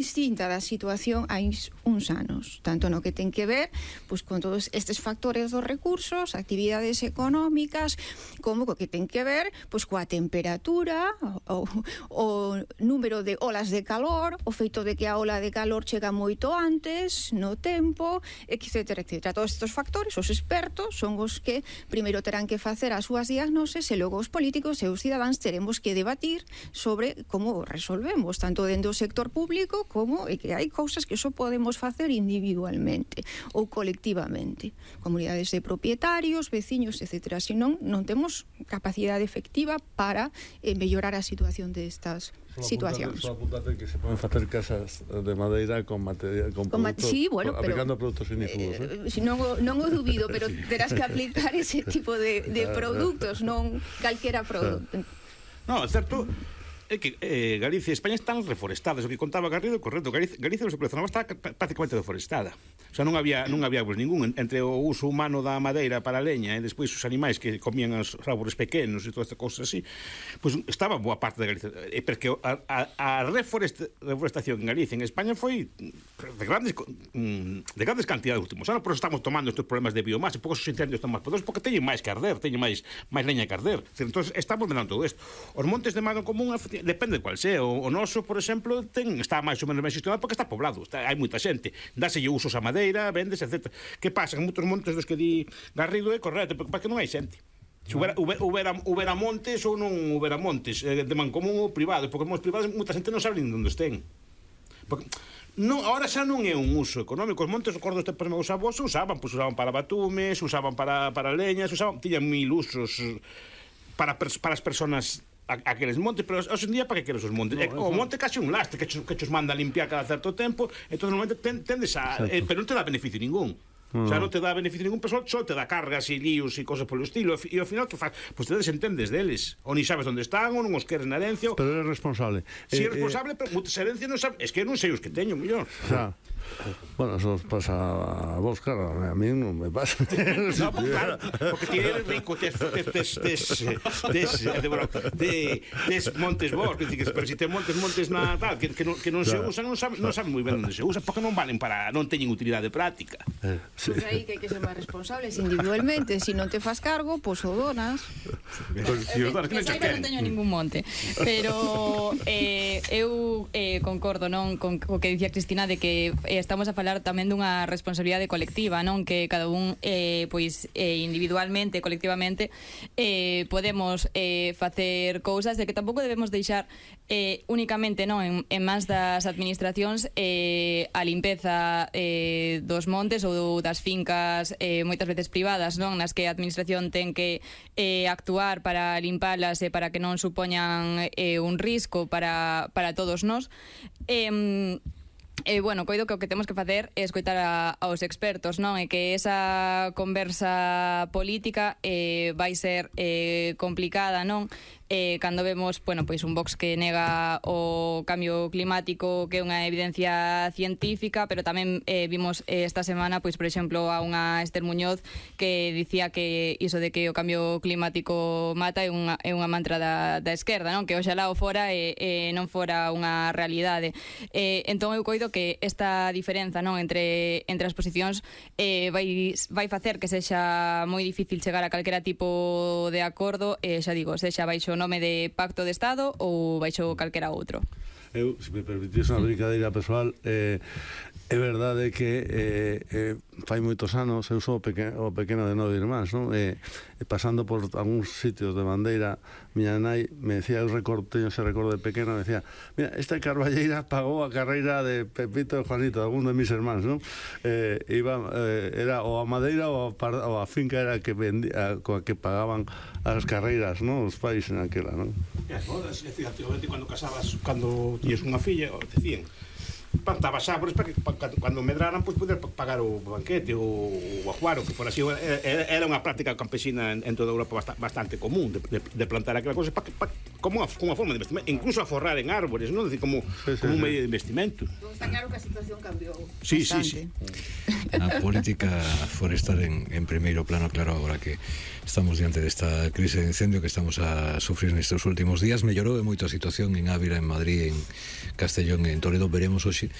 distinta da situación hai uns anos, tanto no que ten que ver pois con todos estes factores dos recursos, actividades económicas, como co que ten que ver pois coa temperatura, o número de olas de calor, o feito de que a ola de calor chega moito antes no tempo, etcétera, etcétera. Todos estes factores, os expertos son os que primeiro terán que facer as súas diagnoses e logo os políticos e os cidadáns teremos que debatir sobre como resolvemos, tanto dentro do sector público como que hai cousas que só podemos facer individualmente ou colectivamente, comunidades de propietarios, veciños, etcétera. Senón, non temos capacidade efectiva para mellorar a situación destas situacións. Só apuntate que se poden facer casas de madeira con material, con produtos, sí, bueno, aplicando produtos ignífugos. Non o dubido, pero terás que aplicar ese tipo de produtos, non calquera produto. Non, é certo. É que Galicia e España están reforestadas. O que contaba Garrido é correcto. Galicia no seu zona está prácticamente deforestada. O sea, non había pues, ningún entre o uso humano da madeira para a leña e despois os animais que comían os árboles pequenos e todas estas cousas así, pues estaba boa parte de Galicia. Porque a reforestación en Galicia en España foi de grandes cantidades últimos anos. Por eso estamos tomando estes problemas de biomasa, porque os incendios están máis poderosos, porque teñen máis que arder, teñen máis leña que arder. Entonces, estamos vendendo todo isto. Os montes de mano común depende de cual sea. O noso, por exemplo, está máis ou menos ben gestionado porque está poblado, hai moita xente, dáselle usos a madeira, vendes, etc. Que pasa? Que moitos montes dos que di Garrido é correcto, porque non hai xente. Se houbera montes ou non houbera montes, de mancomún ou privado, porque os privados moita xente non sabe onde estén. Porque non, ahora xa non é un uso económico. Os montes, recordo este meus avós, usaban para batumes, usaban para leñas, tiñan mil usos para as personas aqueles montes, pero hoxe en día para que queres os montes? O monte case un lastre que os manda a limpiar cada certo tempo, entón normalmente tendes a... pero non te dá beneficio ningún. O sea, non te dá beneficio ningún, pero só te dá cargas e líos e cosas polo estilo, e ao final que faz? Pois te desentendes deles, ou ni sabes onde están, ou non os queres na herencia. Pero é responsable. Si é responsable, pero moitas herencias non sabes, es que non sei os que teño, mellor. Xa. Bueno, eso os pasa a vos, claro, a mí non me pasa. No, pues claro, porque ti eres rico, tes montes vos, pero si tes montes na tal, que non se usan, non saben moi ben onde se usan, porque non valen para, non teñen utilidade práctica. Pois aí que hai que ser máis responsables individualmente, se non te fas cargo, pois o donas. Non teño ningún monte, pero eu concordo, non, con o que dicía Cristina, de que estamos a falar tamén dunha responsabilidade colectiva, non, que cada un individualmente, colectivamente podemos facer cousas, de que tampouco debemos deixar únicamente, non, en mans das administracións a limpeza dos montes ou das fincas moitas veces privadas, non, nas que a administración ten que actuar para limpalas e para que non supoñan un risco para todos nós. Bueno, coido que o que temos que facer é escoitar aos expertos, non? E que esa conversa política vai ser complicada, non? Cando vemos, bueno, pois un Vox que nega o cambio climático, que é unha evidencia científica, pero tamén vimos esta semana, pois por exemplo, a unha Esther Muñoz que dicía que iso de que o cambio climático mata é unha mantra da esquerda, non? Que oxalá o fora e non fora unha realidade. Entón eu coido que esta diferenza, non, entre as posicións vai facer que sexa moi difícil chegar a calquera tipo de acordo, xa digo, sexa baixo nome de Pacto de Estado ou baixo calquera outro. Eu, se me permitís unha brincadeira persoal, é verdade que fai moitos anos eu sou o pequeno de 9 irmáns, non? Pasando por algúns sitios de bandeira, miña nai me decía, teño ese recordo de pequeno, me decía, mira, esta carballeira pagou a carreira de Pepito e Juanito, algún de mis irmáns, non? Era ou a madeira ou a finca era que vendía, coa que pagaban as carreiras, non? Os pais en aquela, non? E as bodas, efectivamente, cando casabas, cando tiñes unha filla, decían, plantabas árboles para que cando medraran pois poder pagar o banquete ou o ajuaro, que fora así. Era unha práctica campesina en toda Europa bastante común de plantar aquela cosa como unha forma de investimento, incluso a forrar en árboles, non? Decir, como un medio de investimento. Está claro que a situación cambiou bastante. Sí. a política forestal en primeiro plano, claro, agora que estamos diante desta crise de incendio que estamos a sufrir nestes últimos días. Mellorou moito a situación en Ávila, en Madrid, en Castellón e en Toledo. Veremos hoxe